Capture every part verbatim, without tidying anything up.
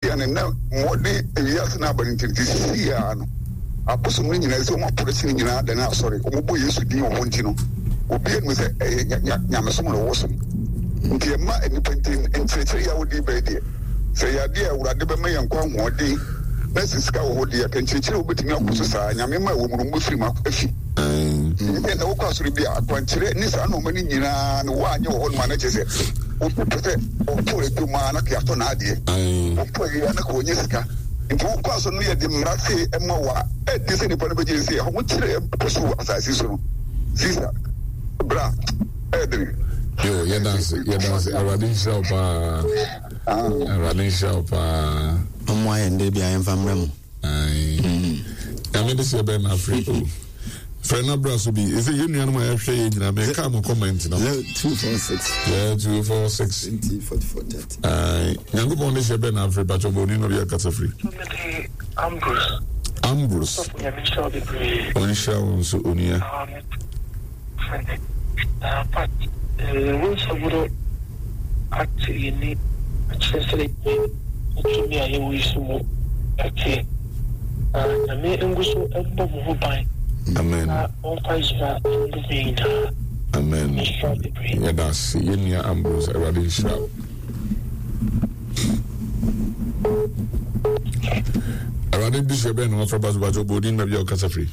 sisi a ne na mmɔde ewiase no aba no nti nti sisi a no abosom no nyinaa sɛ wɔn apɔlɔsi no nyinaa dane asɔre, wɔn bɔ Yesu din wɔ hɔ nti no obi anim sɛ ɛyɛ nyamesom na ɔwɔ som. Nti ɛma nnipa nti nkyerɛkyerɛ yi a wodi bɛyɛ deɛ sɛ yɛ adeɛ a Awurade bɛma yɛn nkwa ahoɔden na sɛ sika wɔ hɔ deɛ ka nkyerɛkyerɛ wobɛtumi akɔ so saa Nyame ma ɛwɔ mu no mobɛfiri mu afi. Nti na wokɔ asɔre bi a akwankyerɛ ne saa nnoɔma no nyinaa no woanyɛ wɔ hɔ nom a na kyerɛ sɛ obi pɛ sɛ ɔtɔ adwuma a na ka yɛatɔ n'adeɛ, ɔtɔ yie a na ka ɔnyɛ sika. Nti wokɔ asɔre no yɛde mmara sei ma wo a ɛde sɛ nipa no bɛgye sɛ ahokyerɛ kɔ so wɔ asase so no sisa bra ɛdene. Yo, yɛda ase, yɛda ase. Awurade nhyira wo paa. Awurade nhyira wo paa. Ɔmo ayɛ ndɛ bi a yɛmfa mmerɛ mu. Nyame de sɛ ɛbɛn na afiri o. Frɛ no abra so bi. Ɛsɛ yɛn nuanom a yɛhwɛ yɛn nyinaa mɛka mo comment no. Zero two four six. Zero two four six. Twenty forty four thirty. Nyankopɔn de sɛ ɛbɛn na afiri patro bɔ onii na ɔde akasa firi. Ambrose. Ambrose. Ɔnhyira wo nso onua. Na but wo nsɛm no ate yɛn ani akyerɛ sɛdeɛ Nyame tumi a yɛwɔ yi so mu teɛ. Na Nyame ngu so mmɔ mo ho ban. Amen. Na ɔmfa nhyira ndom yɛn nyinaa. Amen. Nhyira bebree. Yɛda ase yɛn nua Ambrose, Awurade nhyira wo. Awurade bi hyɛ bɛn na wafra baso baso bɔ odin baabi a ɔkasa firi.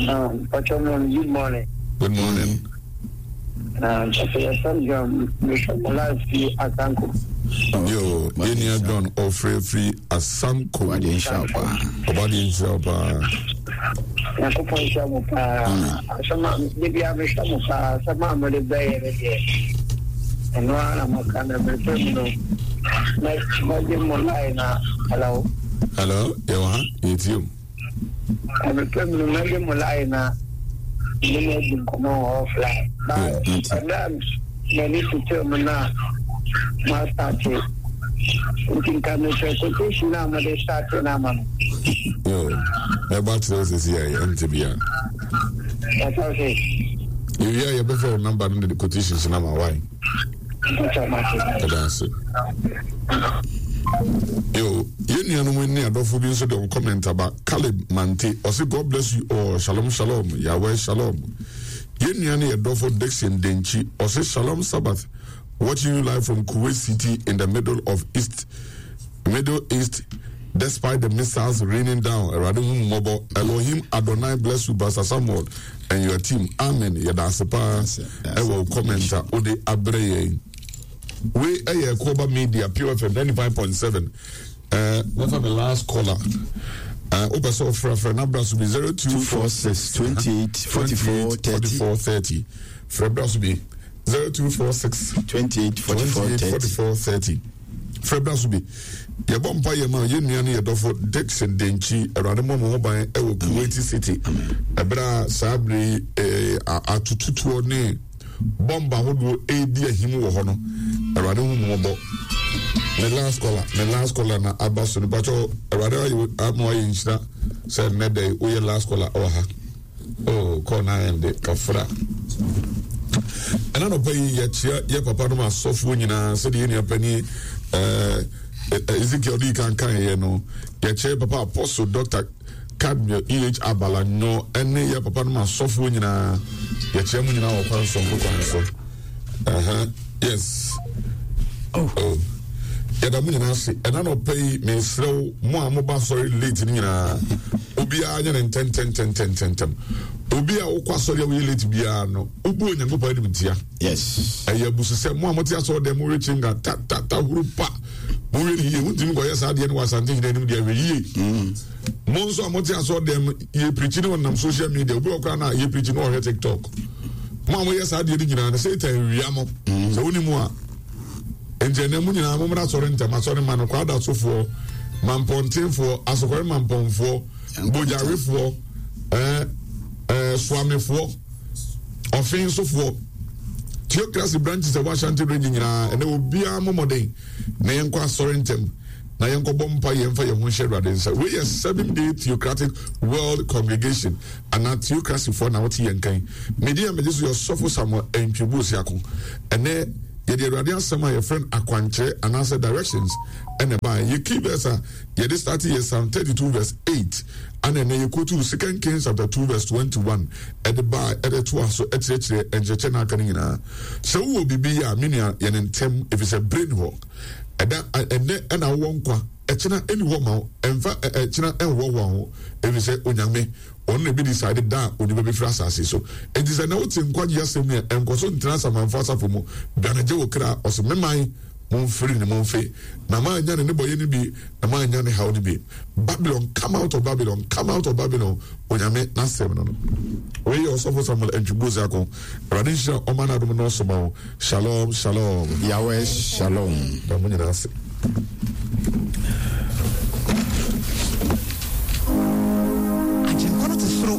Um, Pacho, good morning. Good morning. Um, yɛfrɛ John, mehwɛ mo live fi Asanko. Yo, yɛnua John ɔfrɛ firi Asanko. Ɔbadeɛ nhyira wo paa. Ɔbadeɛ nhyira wo paa. Nyankopɔn nhyira mo paa. Asɛm a de bia mehwɛ mo paa, asɛm a mode bɛyɛ no deɛ, ɛno ara na maka na mepɛ mu no, mɛgye mo line na hello. Hello, yɛwɔ ha, yɛtie o. Mepɛ mu no mɛgye mo line na ne mo adi nkɔmmɔ wɔ offline. Ba ɛberɛ a m'ani tetee mu no a moastate nti nka mepɛ quotation a mode state no ama no. Yo, mɛba kyerɛ wo sɛsi a ɛnte bia. Ɛsɛ sɛ. Yɛwie a yɛbɛfrɛ wo number no de quotations no ama wae. Ɛda ase. Yo, yɛn nuanom ne adɔfo bi nso de wɔn comment aba. Caleb Mante, ɔse God bless you all. Shalom shalom. Yahweh shalom. Yɛn nua ne yɛdɔfo Dixon Denkyi, ɔse shalom Sabbath. Watching you live from Kuwait City in the middle of East Middle East despite the missiles raining down. Awurade hu mmɔbɔ. Elohim Adonai bless you Pastor Samuel and your team. Amen. Yɛda ase paa ɛwɔ comment a wode abrɛ yɛn. Wei ɛyɛ Koba Media Pure F M ninety five point seven. Uh, wɔfa the last caller. Uh, wopɛ sɛ ɔfrɛfrɛ na bra so bi zero two four six twenty eight forty four thirty four thirty. Frɛ bra so bi zero two four six twenty eight forty four forty four thirty. Frɛ bra so bi. Yɛbɔ mpa yɛ ma yɛn nua ne yɛdɔfo Dixon Denkyi. Awurade mmɔ mo ho ban ɛwɔ Kuwait City. Ɛberɛ a saa bere yi atututuo ne bɔmba ahodoɔ ɛredi ahim wɔ hɔ no, Awurade hu mmɔbɔ. Me last caller, me last caller na aba so no pakyɛ Awurade ayɛ ama ayɛ nhyira sɛ nnɛ dɛ woyɛ last caller ɛwɔ ha. Oh, call na ayɛ de kafra. Ɛna nɔpa yi yɛkyia yɛ papa nom asɔfoɔ nyinaa sɛdeɛ yɛ nua pani ɛɛ Ezekiel di kankan yɛ no, yɛkyia papa Apostle Doctor Cadmiel E H Abalanyɔ ɛne yɛ papa nom asɔfoɔ nyinaa, yɛkyia mu nyinaa wɔ kwan sonko kwan so. Uh-huh. Yes. Oh. Oh. Yɛda mo nyinaa ase. Ɛna nɔpa yi mesrɛ wo mo a moba asɔre late no nyinaa, obiara nyɛ ne ntɛntɛntɛntɛntɛm. Obi a wokɔ asɔre a woyɛ late biara no, wobu Onyankopɔn anim tia. Yes. Ɛyɛ abususɛm. Mo a mote asɔre dɛm mowe kyenga ta ta ta huru pa. Monhwɛ ne yie. Wontumi nkɔyɛ saa adeɛ no wɔ Asante Hene anim deɛ, hwɛ yie. Mo nso a mote asɔre dɛm yɛ pirikyi ne wɔnam social media. Obi wɔ koraa na yɛ pirikyi na ɔhwɛ TikTok. Mo a moyɛ saa adeɛ no nyinaa no, Satan wia mo. Sɛ woni mu a, nti ɛnɛ mo nyinaa mommra asɔre ntɛm. Asɔre ma no kwadasofoɔ, mampɔntenfoɔ, asokɔre mampɔnfoɔ, bogyarefoɔ, ɛɛ ɛɛ soamefoɔ, ɔfensofoɔ, theocracy branches ɛwɔ Ashanti region nyinaa. Ɛnɛ obiara mmɔmɔden na yɛnkɔ asɔre ntɛm na yɛnkɔbɔ mpa yɛmfa yɛn ho nhyɛ Awurade nsa. Wei yɛ Seven Day Theocratic World Congregation anaa theocracy foɔ na wote yɛn kan. Medi a megye so yɛ Ɔsɔfo Samuel Antwi Boasiako. Ɛnɛ Yɛde Awurade asɛm a yɛfrɛ no akwankyerɛ anaasɛ directions ɛna ɛbaeɛ. Yɛ key verse a yɛde start yɛ Psalm thirty two verse eight ana ɛnɛ yɛkɔtu Second Kings chapter two verse twenty one ɛde baa ɛde toa so ɛkyerɛkyerɛ nkyerɛkyerɛ n'aka no nyinaa. Sɛ wowɔ biribi yɛ a, me nua, yɛ ne ntɛm efisɛ bere ni hɔ. Ɛda ɛnɛ ɛna wowɔ nkwa, ɛkyena ɛni hɔ ma wo. Ɛmfa ɛkyena ɛnhoahoa ho efisɛ Onyame ɔno na ebi decide da a onipa bɛfiri asase so. Enti sɛ na wote nkwagye asɛm ni a, ɛnkɔ so ntena asamanfo asafo mu. Dwane gye wo kra. Ɔse, me man, momfiri ne momfe, na moannya ne nnebɔyɛ no bi, na moannya ne haw no bi. Babylon, come out of Babylon, come out of Babylon. Onyame n'asɛm no no. Wei yɛ Ɔsɔfo Samuel Antwi Boziako. Awurade nhyira ɔma n'adom no ɔsoma wo. Shalom, shalom. Yahweh shalom. Da mo nyinaa ase. Agyenkwa no te soro.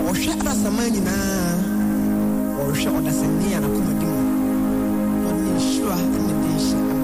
Ɔhwɛ adasamma nyinaa. Ɔrehwɛ ɔdasani a n'akoma di mu. Ɔde ne nhyira